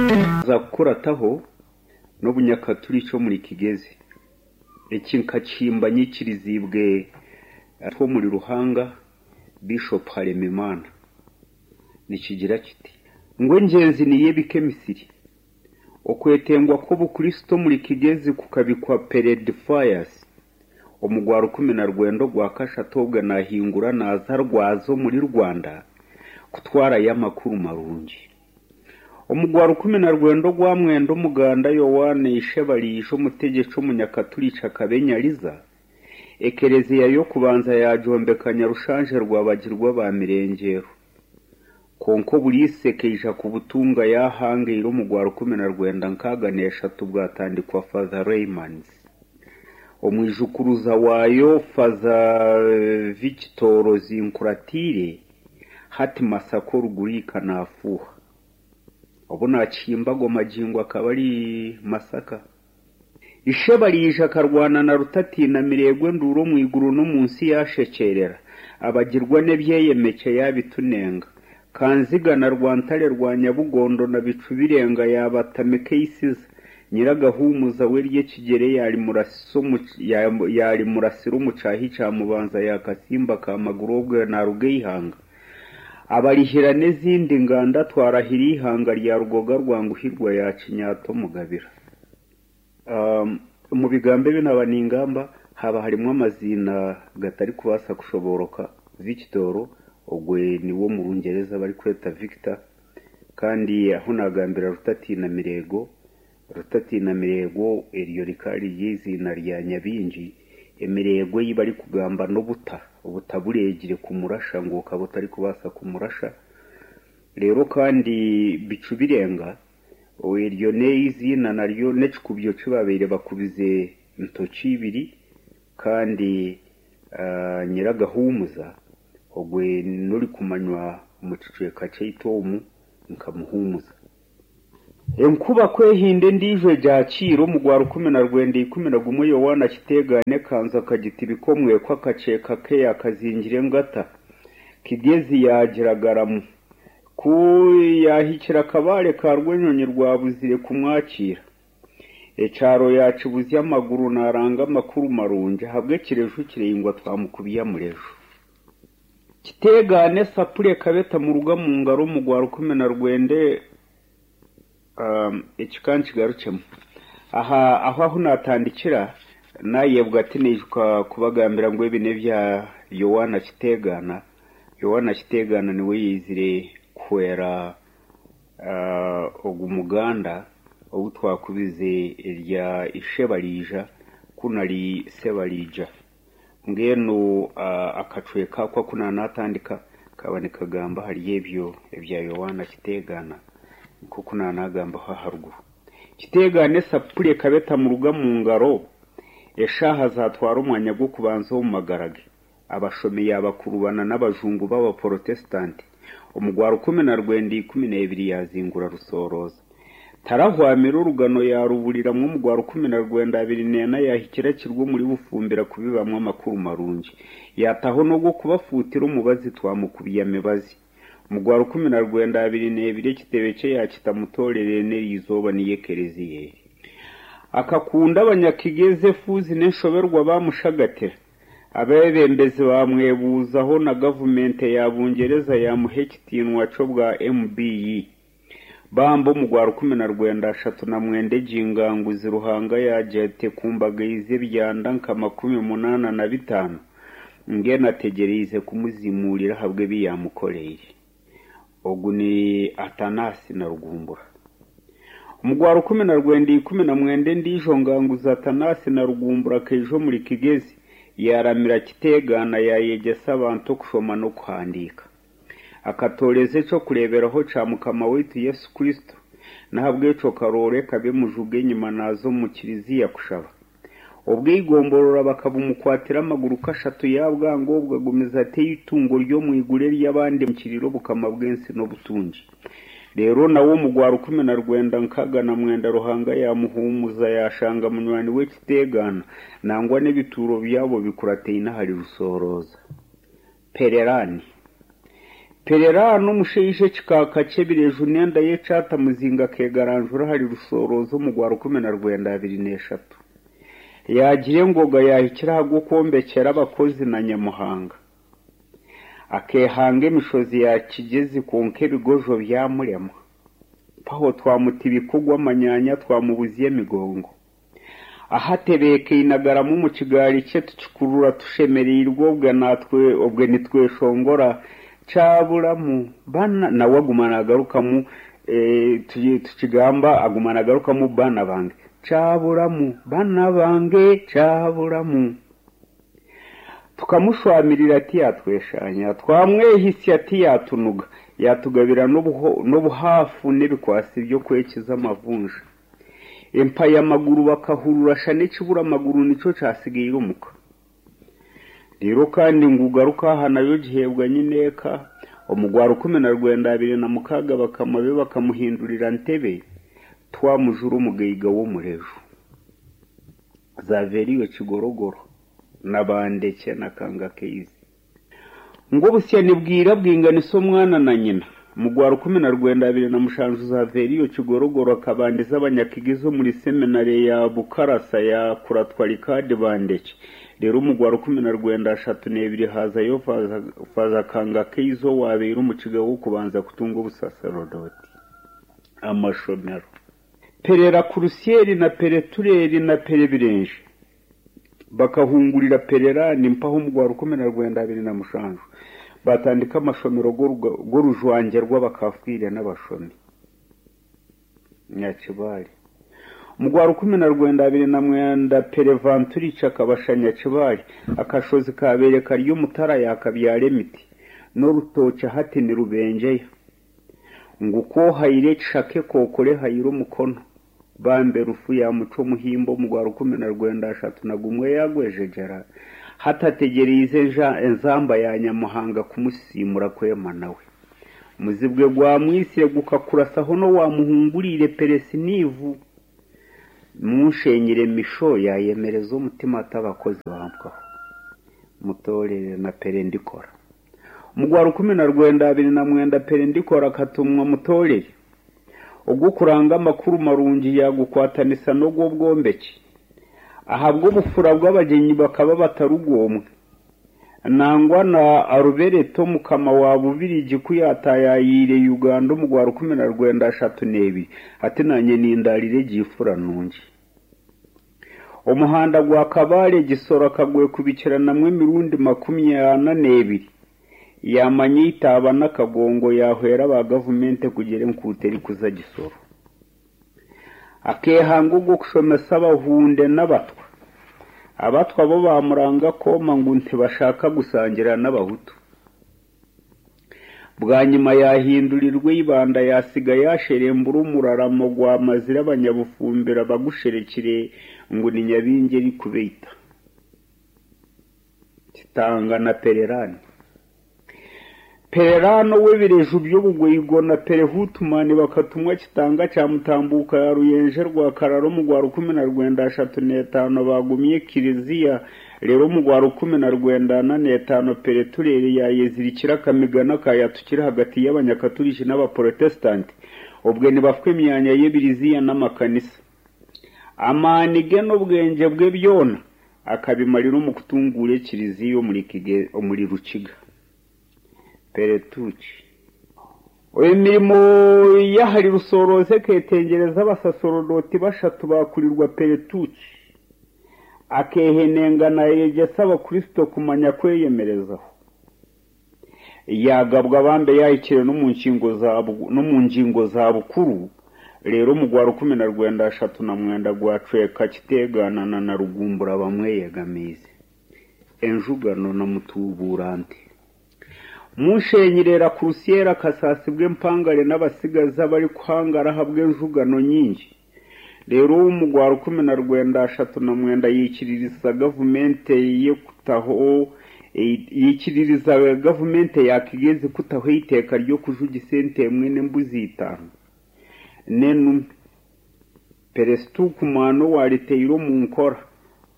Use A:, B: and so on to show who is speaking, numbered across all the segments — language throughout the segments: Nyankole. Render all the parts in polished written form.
A: Za kukurataho n'obunyakaturiki omuri Kigezi. Eki nkakihimba nyikiriziibwe omuri Ruhanga Bishop Harerimana. Nikigira kiti, Ngu engyenzi niyo ebika emisiri. Okwetengwa kw'obukristo omuri Kigezi kukabikwa Pere Defias omu gwa 19 Ogwakashatu obwe nahingura naaza Rwaza omuri Rwanda kutwarayo amakuru marungi. Omu gwa 19 Ogwamwenda Omuganda Yowaana Ishebariija omutegyeki omunyakaturiki akaba enyariza, ekereziya y'okubanza yaagyombeka Nyarushanje Rwabagirwa ba Mirengyero. Kwonka oburiisa ekaija kubutunga yaahangaire omu gwa 1963 bwatandikwa Father Reymanns. Omwijukuruza waayo Father Victor Zinkuratire hati Masaka Oruguriika naafuuha. Obu naakihimba ago magingo akaba ari Masaka. Ishebariija akarwana na Rutatiina Mireegwa enduuru omu iguru n'omu nsi yaashekyerera, abagirwa n'ebyeyemekye yaabitunenga. Kanziga na Rwantare rwa Nyabugondo na Bicubirenga yaabatamika eisiza, Nyiragahuumuza we ery'ekigyere yaarimurasira omu kyahi kya Mubanza ya Kasimba ka Maguru obwo naaruga eihanga. Abarihira n'ezindi nganda twarahira eihanga rya Rugoga rwa Nguhirwa ya Kinyaata Omugabira. Omu bigambo ebi naaba ningamba haaba harimu amaziina gatarikubaasa kushobooroka, Victor ogwe niwe omu Rungyereza barikweta Victor kandi ahu naagambira Rutatiina Mireego, Rutatiina Mireego eryo rikaba riri eiziina rya Nyabingi, emireego ei barikugamba n'obuta, obuta bureegire kumurasha ngu okaba otarikubaasa kumurasha. Reero kandi Bicubirenga Eryo n'eiziina naryo n'ekikubyo ki baabaire bakubize ntoki ibiri kandi Nyiragahuumuza ogwe n'orikumanywa omu kicweka kyaitu omu nka Muhuumuza. Enkuba ku ehinda endiijo egyakiira omu gwa 1911 Yowaana Kiteegaana ekanzu akagitibika omweko akakyeka ke yaakazingira engata Kigezi yaagiragaramu. Ku yaahikire akabaare ka Rwenyonyi rwabuzire kumwakiira. Ekyaro yaakibuzya amaguru naaranga amakuru marungi ahabw'ekireju kiraingwa twamukubya mureju. Kiteegaana esapuri ekaba etamuruga mu ngaro omu gwa 19 Eki ka nkigarukyemu. Aha aho ahu naatandikira, naayebwa tinaijuka kubagambira ngu ebi n'ebya Yowaana Kiteegaana. Yowaana Kiteegaana niwe yaizire kuhwera ogu muganda ou twakubize erya Ishebariija ku nari Sebariija. Mbwenu akacweka ako aku naanatandika kaaba nikagamba ahari ebyo ebya Yowaana Kiteegaana nk'oku naanagambaho aharuguru. Kiteegaana esapuri ekaba etamuruga mu ngaro, eshaaha zaatwara omwanya gw'okubanza omu magara ge. Abashomi yaabakurubana n'abajungu b'Abaporotesitanti. Omu gwa 1912 yaazingura Rusoorooza. Tarahwamire orugano yaaruburiramu omu gwa 1924 yaahikira Kirwa omuri Bufumbira kubibamu amakuru marungi. Yaataho n'ogw'okubafuutira omubazi twamukubya mibazi. Omu gwa 1922 ekitebe kye yaakita Mutoorere n'eri izooba niyo ekereziya eri. Akakunda Abanyakigezi efuuzi n'enshoberwa baamushagatira. Abeebembezi baamwebuuzaho na gavumenti ya Bungyereza yaamuha ekitiinwa ky'obwa MBE. Bambi omu gwa 1939 egi nganguzi Ruhanga yaagira ati ekumbagaize ebyanda nka 85 mbwenu ategyereize kumuzimuurira ahabw'ebi yaamukoreire. Ogu ni Atanasi na Rugumbura. Omu gwa 1919 endiijo nganguzi Atanasi na Rugumbura akaija omuri Kigezi yaaramira Kiteegaana yaayegyesa abantu okushoma n'okuhandiika. Akatooreza eky'okureeberaho kya Mukama waitu Yesu Kristo, n'ahabw'ekyo Karooro ekaba emujuga enyima naaza omu kiriziya kushaba. Obwo eigomborora bakabumukwatira amaguru kashatu yaabwanga obwo agumize ati eitungo ry'omu iguru ery'abandi nkirira obukama bw'ensi n'obutungi. Reero nawe omu gwa 1969 Ruhanga yaamuhuumuza yaashanga munywani we Kiteegaana nangwa n'ebituuro byabo bikurataine ahari Rusoorooza. Pererani. Pererano omushaija ekikaaka ky'ebireju n'enda y'ekyata muzinga akeegaranjura ahari Rusooroza omu gwa 1923. Yaagira engoga yaahikire aha gw'okwombekyera abakozi na Nyamuhanga. Akeehanga emishozi ya Kigyezi kwonka ebigojo byamurema. Mpaho twamutibika ogw'amanyaanya twamubuzya emigongo. Aho atebeekaine agarama omu kigaari kye tukikurura tushemereirwe obwe natwe obwe nitweshongora kyaburamu bana nawe aguma nagarukamu tukigamba aguma nagarukamu bana bange kyaburamu bana bange kyaburamu. Tukamushwamirira tiyatweshanya, twamwehisya tiyatunuga, yatugabira n'obuhaafu n'ebikwasi by'okwekiza amavunja. Empayamaguru bakahurura shana ekibura amaguru nikyo kyasigaire omuka. Reero kandi ngu garuka aha nayo giheebwa nyineeka, omu gwa 1926 bakama be bakamuhindurira Ntebe, twamujura omugaiga w'omureju. Zaveriyo Kigorogoro na Bandekye na Kangakaizi. Ngu obusya nibwira bwinganisa omwana na nyina. Mu gwa 1927 Zaveriyo Kigorogoro akabandiza Abanyakigizi omuri seminare ya Bukarasa yakuratwa Rikaadi Bandekye. Reero omu gwa 1932 hazayo Faaza Kangakaizi owaabaire omukiga w'okubanza kutunga obusaserodooti. Amashomero. Perera Kurusyeri na Peretureri na Perebirenje bakahungurira Pererani mpaho omu gwa 1927 baatandika amashomero g'orujwangye rw'abakafiire n'abashomi. Nyakibale. Omu gwa 1929 Perevanturici akabasha Nyakibale, akashozi kaabaire kari omutara yaakabyara emiti n'orutookye hati nirubengyeya. Ngu ku ohaire ekishaka ekookoro ehaire omukono, bambe rufu yaamucwa omuhimbo omu gwa 1931 yaagwejegyera, hati ategyereize enzamba ya Nyamuhanga kumusisiimura kwema nawe. Muzibwe gwamwitsire gukakurasaho n'owaamuhunguriire Peresiniivu. Munshenyire Misho yaayemereza omutima ati abakozi bampwaho. Mutoorere na Perendikora. Omu gwa 1929 Perendikora akatumwa Mutoorere ogw'okuranga amakuru marungi yaagukwatanisa n'ogw'obwombeki. Ahabw'obufura bw'abagyenyi bakaba batarugwomwe. Nangwa na Arubereto Mukama wa Bubirigi ku yaataayayiire Uganda omu gwa 1932 ati naanye nindaarira egi ifura nungi. Omuhanda gwa Kabale Gisoro akagwekubikiranamu emirundi 42, yaamanya eitaaba n'akagongo yaahwera aba gavumenti kugira enkuuto erikuza Gisoro. Akeehanga ogw'okushomesa Abahunde n'Abatwa. Abatwa bo baamuranga kooma ngu ntibashaka gusangira n'Abahutu. Bwanyima yaahindurirwa eibanda yaatsiga yaasherembura omuraramo gwamazire abanyabufumbira bagusherekire ngu ni Nyabingi erikubaita. Kitanga na Pererani. Pererani ow'ebireju by'obugweigo na Perehutumani bakatumwa Kitanga kya Mutambuuka ya Ruyenje Rwakarara omu gwa 1935 baagumya ekiriziya reero omu gwa 1945 Pereturere yaayezirikira akamigano akaayatukire ahagati y'Abanyakaturiki n'Abaporotesitanti obwe nibafwa emyanya y'ebiriziya n'amakanisa. Amaani ge n'obwengye bwe byona akabimarira omu kutunguura ekiriziya omuri Rukiga. Peretuki. Emirimo y'ahari Rusooroza ekeetengyereza abasaserodooti bashatu baakurirwa Peretuki. Akeehenenga naayegyesa Abakristo kumanya kweyemerezaho. Yaagabwa bambe yaahikire n'omu ngingo za bukuru, reero omu gwa 1939 gwacweka Kiteeganana na Rugumbura bamweyegamiize. Enjugano na Mutuubuurante. Munshenyerera Kurusyera akasaasibwa empangare n'abatsigazi abarikuhangara ahabw'enjugano nyingi. Reero omu gwa 1939 yaikiririza gavumenti ye kutaho yaikiririza gavumenti ya Kigezi kutaho eiteeka ry'okujugisa ente emwe n'embuzi itaano n'enume. Peresitukumani owaariteire omu nkora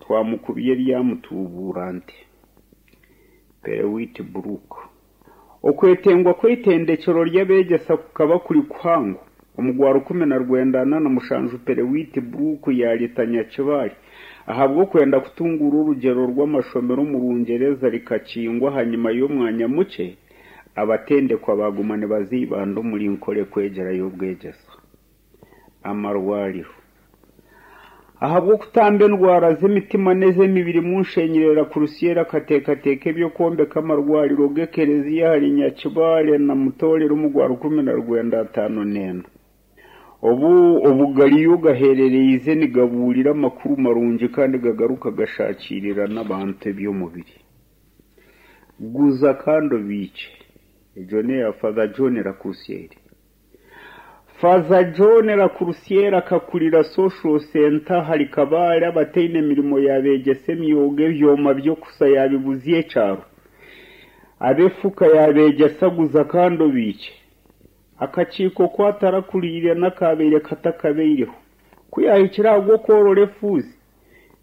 A: twamukubya erya Mutuubuurante. Perewiti Brook. Okwetengwa kw'eitendekyero ry'abeegyesa kukaba kuri kuhango. Omu gwa 1947 Perewiti Brooke yaarita Nyakibare ahabw'okwenda kutunguura orugyero rw'amashomero omu Rungyereza rikakingwa ahanyima y'omwanya mukye abatendekwa baaguma nibaza Ibanda omuri Nkore kwegyerayo obwegyesa. Amarwariro. Ahabw'okutamba endwara z'emitima n'ez'emibiri Munshenyire Lakurusiyeeri akateekateeka eby'okwombeka amarwariro g'ekereziya ahari Nyakibare na Mutoorera omu gwa 1954. Obu obugariyo gaherereize nigabuurira amakuru marungi kandi gagaruka gashaakiirira n'abantu eby'omubiri. Guza kandi obiikye. Egyo n'eya Father John Lakurusiyeeri. Faaza John Lakurusiyeeri akakurira Social Centre ahari Kabale abataine mirimo yaabeegyesa emyoga ebyoma by'okusa yaabibuzya ekyaro. Ab'efuka yaabeegyesa guza kandi obiikye. Akakiiko ku atarakuriire n'akaabaire katakabaireho. Ku yaahikire aha gw'okworora efuuzi,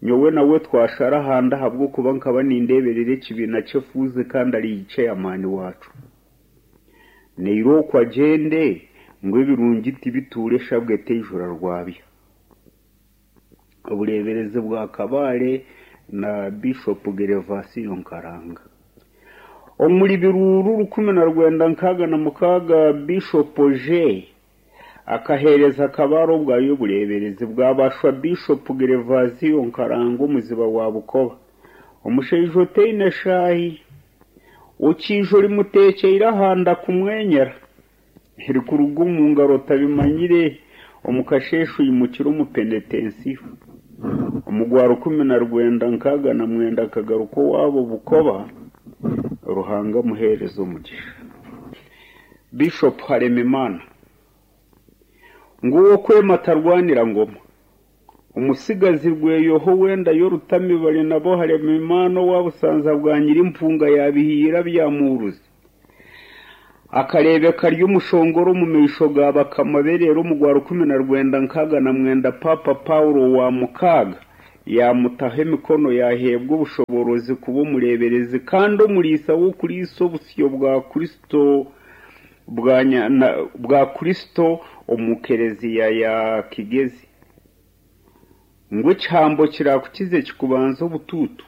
A: nyowe nawe twashara ahandi ahabw'okuba nkaba nindeeberera ekibiina ky'efuuzi kandi ari ceyamaani waakyo. Naire okwo agyende ngu ebirungi tibituura eshabwe teijura rwabya. Obureeberezi bwa Kabale na Bishop Gerevasiyo Nkaranga. Omuri Biruuru 1966 Bishop Oje akaheereza Kabale obwayo obureeberezi bwabashwa Bishop Gerevasiyo Nkaranga omuziba wa Bukoba. Omushaija otaine shaahi, okiija orimuteekyeire aha nda kumwenyera, erikuruga omu ngaro otabimanyire, omu kasheeshe oimukire omu penetensiyo. Omu gwa 1969 akagaruka owaabo Bukoba, Ruhanga amuheereze omugisha. Bishop Haremimana. Ngu ow'okwema tarwanira ngoma. Omutsigazi Rweyoho w'enda y'Orutamibare nabo Haremimana owa Busanza bwa Nyirimpunga yaabihiira Byamuhuruzi. Akareebeka ari omushongore omu maisho ga bakama be reero omu gwa 1969 Paapa Paulo owa mukaaga yaamutaho emikono yaaheebwa obushoboorozi kuba omureeberezi kandi omuriisa w'okuriisa obusyo bwa Kristo bwa Kristo omu kereziya ya Kigezi. Ngu ekihambo kirakukize kikubanze obutuutu.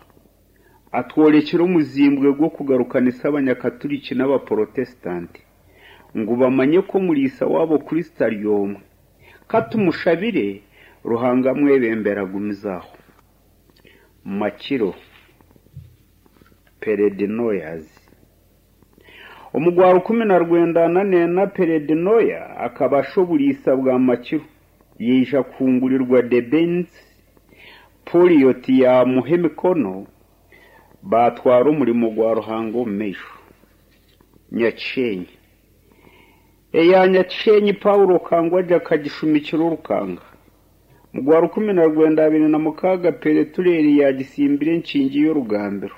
A: Atworekire omuzimbwe gw'okugarukanisa Abanyakaturiki n'Abaporotesitanti, ngu bamanye ku omuriisa waabo Kristo ari omwe. Ka tumushabire, Ruhanga amwebembere agumize aho. Makiro Peredinoyas. Omu gwa 1944 Peredinoya akaba asha oburiisa bwa Makiro, yaija kuhungurirwa Debensi, Poliyoti yaamuha emikono, baatwara omurimo gwa Ruhanga omu maisho. Nyakishenyi. Eya Nyakishenyi Paulo Kangwagye akagishumikira orukanga. Mu gwa 1926 Peretureeri yaagisimbira enkingi y'orugambiro.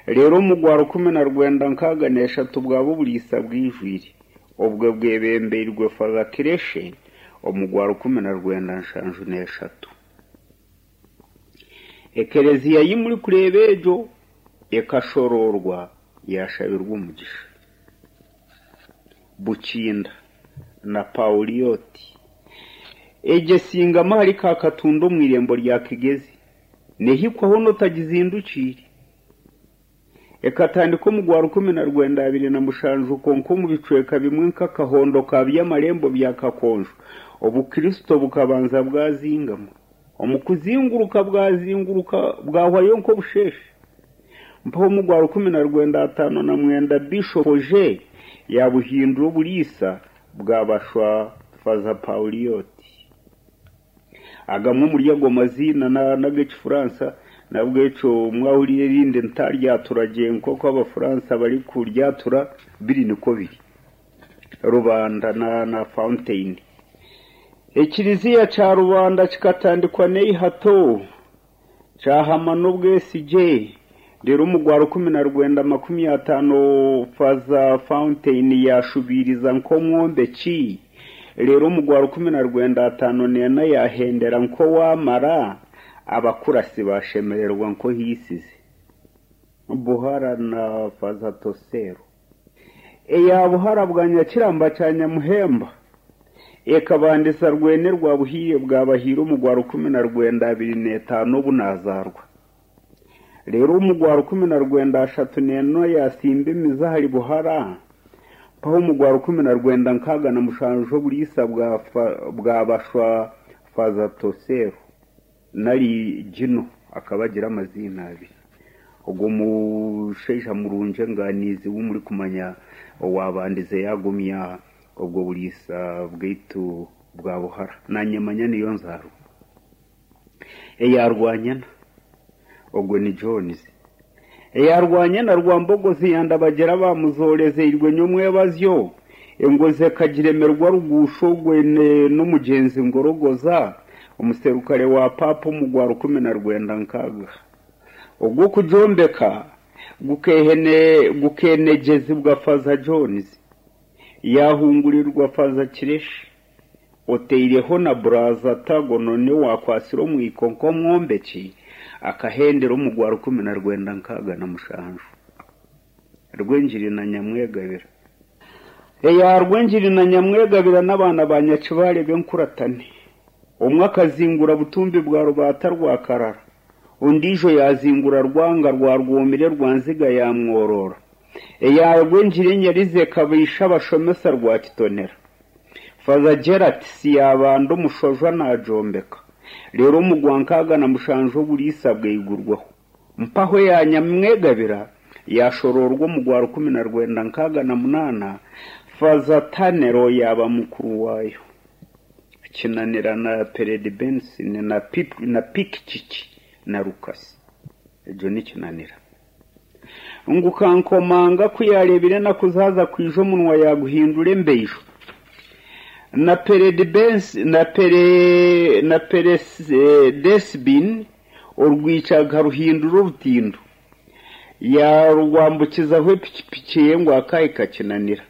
A: Reero omu gwa 1963 bwaba oburiisa bwijwire, obwo bwebembeirwe Father Kireshe omu gwa 1973. Ekereziya ei murikureeba egyo ekashoroorwa yaashabirwa omugisha. Bukinda na Paulioti. Egyo esingami ahari Kakatunda omu irembo rya Kigezi neehikwaho n'otagizindukiire. Ekatandika omu gwa 1927 kwonka omu bicweka bimwe nk'akahondo ka Byamarembo bya Kakonjo, obukristo bukabanza bwazingama. Omu kuzinguruka bwazinguruka bwahwayo nk'obusheeshe. Mpaho omu gwa 1959 Bishop Oje yaabuhindura oburiisa bwabashwa Faza Paulioti. Agamwe omuri ago maziina n'ag'Ekifuransa n'ahabw'ekyo mwahurira erindi ntaryatura gye nk'oku Abafuransa barikuryatura biri nikwo biri. Rubanda na Fountain. Ekiriziya kya Rubanda kikatandikwa n'eihato, kyahama n'obwesigye, reero omu gwa 1950 Faza Fountain yaashubiiriza nk'omwombeki, reero omu gwa 1954 yaahendera nk'owaamara, abakurasi baashemererwa nk'ohiisize. Buhara na Faza Tosero. Eya buhara bwa Nyakiramba kya Nyamuhemba ekabandisa Rwene rwa Buhiire bwa Bahiire omu gwa 1925 obu naazaarwa. Reero omu gwa 1934 yaasimba emizi ahari Buhara, mpaho omu gwa 1967 oburiisa bwa Bashwa Faaza Toseero nari Gino akaba agira amaziina abiri. Ogwo mushaija murungi enganiizi ou murikumanya owaabandize yaagumya obwo buriisa bwaitu bwa Buhara. Naanye manya niyo nzaarwa eya Rwanyana. Ogwo ni Jones. Eya Rwanyana Rwambogozi yandabagira baamuzorezeirwe nyomwebazyo, engozi ekagiremerwa Rugusha ogwe n'omugyenzi Ngorogoza, omuserukare wa Paapa omu gwa 1960. Ogw'okugyombeka gukeenegyezibwa Faaza Jones, yaahungurirwa Faaza Kireshi, oteireho na Buraza Tagononi owaakwatsire omwiko nk'omwombeki, akahendera omu gwa 1967. Rwengiri na Nyamwegabira. Eya Rwengiri na Nyamwegabira n'abaana ba Nyakibare b'enkuratane. Omwe akazingura Butumbi bwa Rubaata rwa Karara, ondiijo yaazingura Rwanga rwa Rwomire rwa Nziga ya Mworora. Eya Rwengiri enyarize ekaba Ishabashomesa rwa Kitonera. Faaza Gerard yaabanda omushojwa naagyombeka, reero omu gwa 67 oburiisa bwaigurwaho. Mpaho eya Nyamwegabira yaashoroorwa omu gwa 1968, Faaza Tanero yaaba mukuru waayo. Kinanira na Peredi Benson na Pikikiki na Rukasi. Egyo ni Kinanira. Ngu Kankomanga ku yaareebire enaku zaaza kwija omunwa yaaguhindura embeijo. Na na Peredesibini orwikyo akaruhindura orutindo. Yaarwambukizaho epikipiki ye ngu akaahika Kinanira.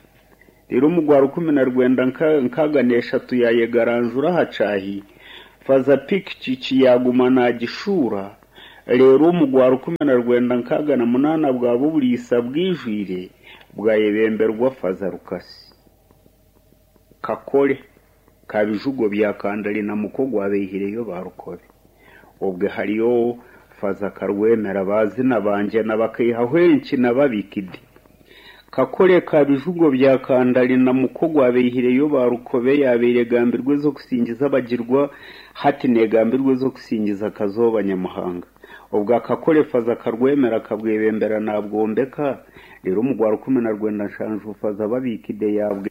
A: Reero omu gwa 1963 yaayegaranjura aha kyahi, Faaza Pikikiki yaaguma naagishuura, reero omu gwa 1968 bwaba oburiisa bwijwire bwayebemberwa Faaza Rukasi. Kakore ka Bijugo bya Kandari na muko gwabaihireyo ba Rukobe. Obwe hariyo Faaza Karwemera baazina bangyena bakaihaho enkina babikide. Kakore ka Bijugo bya Kandari na muko gwabaihireyo ba Rukobe yaabaire egambirwa ez'okusingiza abagirwa hati neegambirwa ez'okusingiza Kazooba Nyamuhanga. Obwa Kakore Faaza Karwemera akabwebembera naabwombeka, reero omu gwa 1970 Faaza Babikide yaabwe.